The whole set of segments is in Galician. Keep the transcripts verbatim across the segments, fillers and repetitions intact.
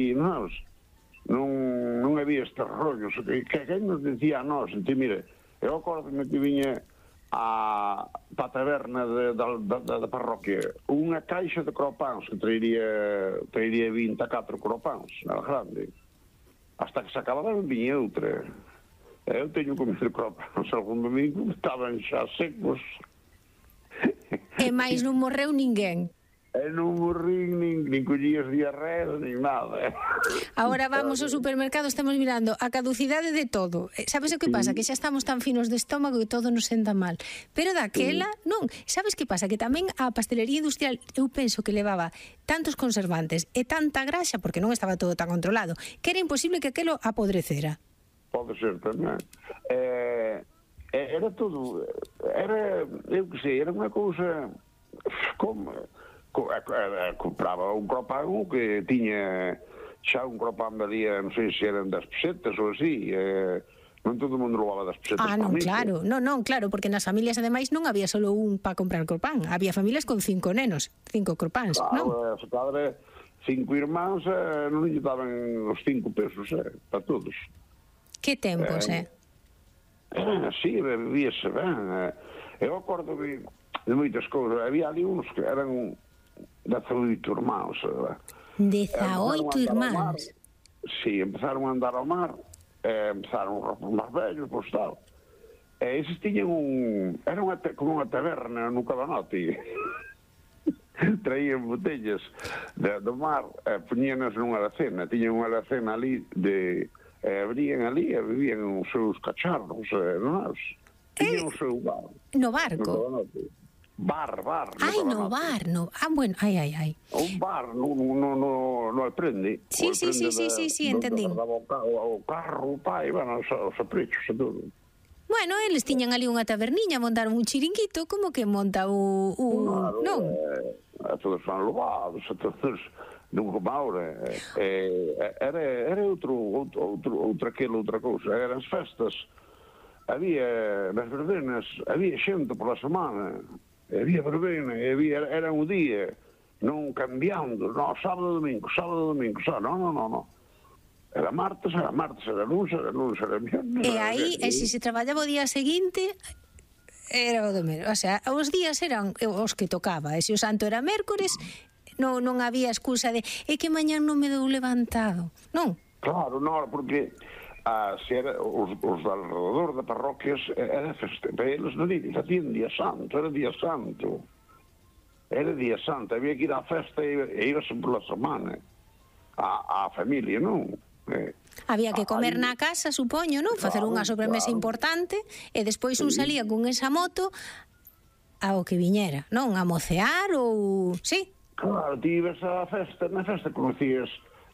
e nós non, non había estes rollos que, que quen nos dicía a nós, enti, mire, eu acordome que viña a pa taberna de, da, da, da parroquia unha caixa de cropáns que trairía trairía vinte e catro cropáns na grande, hasta que se acababan viña outra. Eu teño comido cropáns algún domingo, estaban xa secos e máis non morreu ninguén. E non morrín, nin, nin collías diarreas, nin nada. Agora vamos ao supermercado, estamos mirando a caducidade de todo. Sabes o que pasa? Que xa estamos tan finos de estómago que todo nos senta mal. Pero daquela, non. Sabes que pasa? Que tamén a pastelería industrial, eu penso que levaba tantos conservantes e tanta graxa, porque non estaba todo tan controlado, que era imposible que aquelo apodrecera. Pode ser tamén. Eh, era todo... Era, eu que sei, era unha cousa... Como... compraba un cropán que tiña xa un cropán valía, non sei se eran das pesetas ou así, eh, non todo o mundo levaba das pesetas. Ah, non, claro, non, non, claro, porque nas familias ademais non había solo un para comprar cropán, había familias con cinco nenos, cinco cropáns, claro, non? Claro, se padre, cinco irmáns, eh, non lle daban os cinco pesos, eh, para todos. Que tempos, eh? eh? Sí, vivíase ben. Eh. Eu acordo de, de moitas cousas, había ali uns que eran dezaoito irmáns. dezaoito irmáns? Sí, empezaron a andar ao mar, eh, empezaron os máis vellos, pois tal. E eses tiñan un... Era unha, como unha taberna no Cabanote. Traían botellas de, do mar, eh, poñíanas nunha alacena, tiñan unha alacena ali, de, eh, abrían ali e vivían os seus cacharros, eh, non? Tiñan o seu bar. No barco? No Cabanote. Bar, bar. Ai, no bar, no. Ah, bueno, ai, ai, ai. Un bar, no, no, no, no aprende. Sí, sí, sí, sí, sí, sí, entendí. O carro, o pai, bueno, os aprechos e todo. Bueno, eles tiñan ali unha taberniña, montaron un chiringuito, como que monta o... o claro, non? Eh, todos fan lobados, todos... Non como ahora. Eh, era, era outro, outro, outro, outra aquela, outra cousa. Eran as festas. Había, nas verbenas, había xente pola semana. Había verbena, había, era un día, non cambiando, no, sábado, domingo, sábado, domingo, sábado, no, no, no, no. Era martes, era martes, era lunes, era lunes, era viernes. E aí, e se se traballaba o día seguinte, era o do mesmo. O sea, os días eran os que tocaba, e se o santo era mércores, non, non había excusa de é que mañán non me dou levantado, non? Claro, non, porque... Ah, se era, os, os alrededor de parroquias era feste, para eles non facían día santo, era día santo era día santo, había que ir á festa e, e ibas pola semana á, á familia, non? Eh, había que comer aí, na casa, supoño, non? Facer claro, unha sobremesa claro. importante e despois un Sí. salía con esa moto ao que viñera, non? A mocear ou... Sí? Claro, ti ibas á festa, na festa conocías.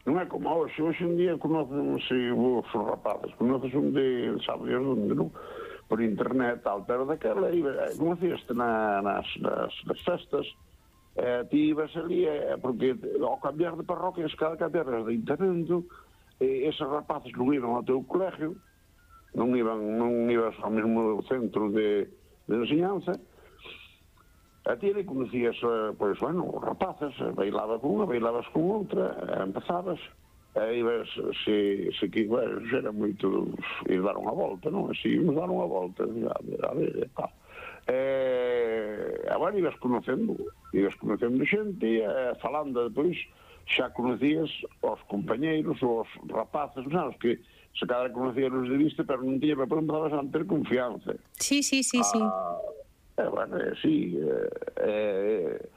Non é como hoxe, hoxe en día conocen se vos os rapazes, conoces un de, sabes onde, non? Por internet, tal, pero daquela conocíaste na, nas, nas, nas festas, eh, ti ibas ali, eh, porque ao cambiar de parroquias, cada cambiar de internando, eh, eses rapaces non iban ao teu colegio, non iban, non ibas ao mesmo centro de, de enseñanza. A ti ali conocías, pois, bueno, rapaces, bailaba con unha, bailabas con outra, empezabas, e ibas, se, se que, bueno, era moito ir dar unha volta, non? Se íbamos dar unha volta, a ver, a ver, e tal. E, agora ibas conocendo, ibas conocendo xente, e falando depois, xa conocías os compañeiros, os rapaces, non? Os que se cada conocían os de vista, pero non tiña, pero empezabas a ter confianza. Sí, sí, sí, sí. Ah, Eh, bueno, eh, sí, eh, eh,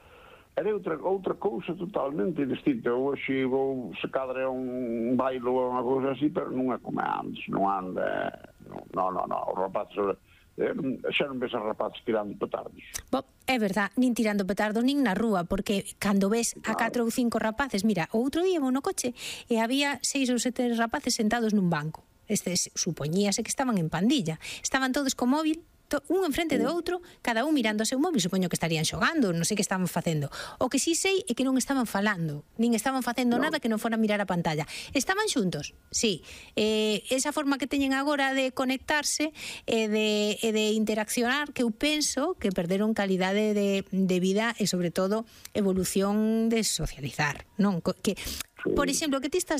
era outra, outra cousa totalmente distinta. Hoxe vou, se cadra un bailo ou unha cousa así, pero non é como antes, non anda, non, non, non, os rapazes, eh, xa non ves os rapazes tirando petardos. Bo, é verdad, nin tirando petardos nin na rúa, porque cando ves a catro ou cinco rapaces, mira, o outro día vou no coche e había seis ou sete rapaces sentados nun banco. Estes supoñíase que estaban en pandilla, estaban todos co móvil, un enfrente de outro, cada un mirando o seu móvil, supoño que estarían xogando, non sei que estaban facendo. O que sí sei é que non estaban falando, nin estaban facendo no. nada que non fora mirar a pantalla. Estaban xuntos, sí. Eh, esa forma que teñen agora de conectarse e de, e de interaccionar, que eu penso que perderon calidade de, de vida e, sobre todo, evolución de socializar, non? Que Por exemplo, o que ti estás